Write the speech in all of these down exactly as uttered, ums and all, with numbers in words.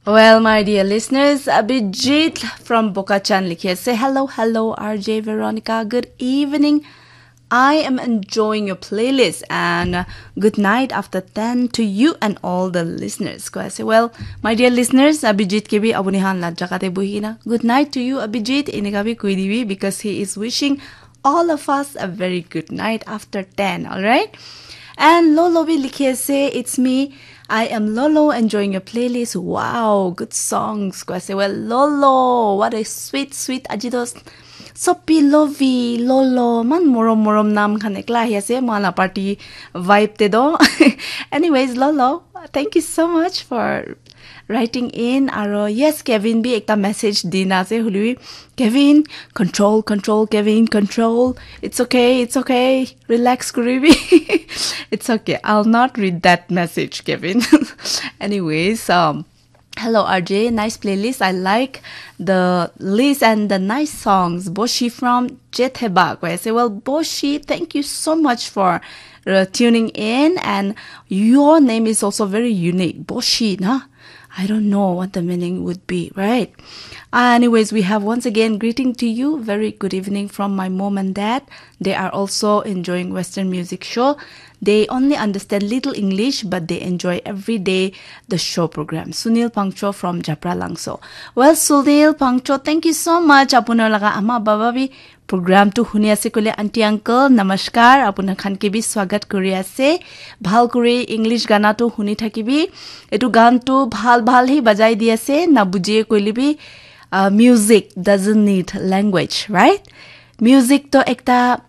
Well, my dear listeners, Abhijit from Boca Chan likhi ase, "Hello, hello, R J Veronica. Good evening. I am enjoying your playlist and uh, good night after ten to you and all the listeners." Koi ase, well, my dear listeners, Abhijit ke bhi apuni khan la jaga te bohi na, "Good night to you, Abhijit," enika bhi koi dibi because he is wishing all of us a very good night after ten, all right? And Lolo bhi likhi ase, "It's me. I am Lolo, enjoying your playlist. Wow, good songs." Koi ase, well, Lolo, what a sweet, sweet, aji to sopi lovi, Lolo, man morom morom nam khan ekla ahi ase, moila party vibe te do. Anyways, Lolo, thank you so much for writing in. Aro yes, Kevin bhi ekta message dina ase, hoilebi, "Kevin, control, control, Kevin, control. It's okay, it's okay. Relax kuribi." It's okay. I'll not read that message, Kevin. Anyways, um, "Hello, R J. Nice playlist. I like the list and the nice songs." Boshi from Jetheba. Koi ase, well, Boshi, thank you so much for uh, tuning in. And your name is also very unique. Boshi, na? I don't know what the meaning would be, right? Uh, anyways, we have once again greeting to you. Very good evening from my mom and dad. They are also enjoying Western music show. They only understand little English, but they enjoy every day the show program. Sunil Pangcho from Japra Langso. Well, Sunil Pangcho, thank you so much. Apunar laga ama baba bi program tu huni ase koile, aunty uncle, namaskar, apunar khan ke bi swagat kuri ase. Bhal kuri English gana tu huni thakibi. Etu gan tu bhal bhal hi bajai di ase, na bujie koile bi, uh, music doesn't need language, right? Music to ekta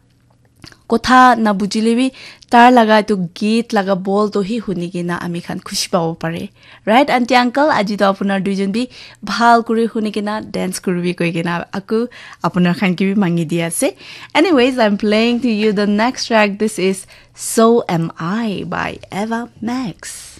kotha na bujile bi, tar laga etu git laga bol to hi huni kena ami khan khushi pabo pare. Right, aunty uncle? Aji to apunar duijon bi bhal kuri huni kena dance kuribi koi kena aku apunar khan ke bi mangi di ase. Anyways, I'm playing to you the next track. This is So Am I by Ava Max.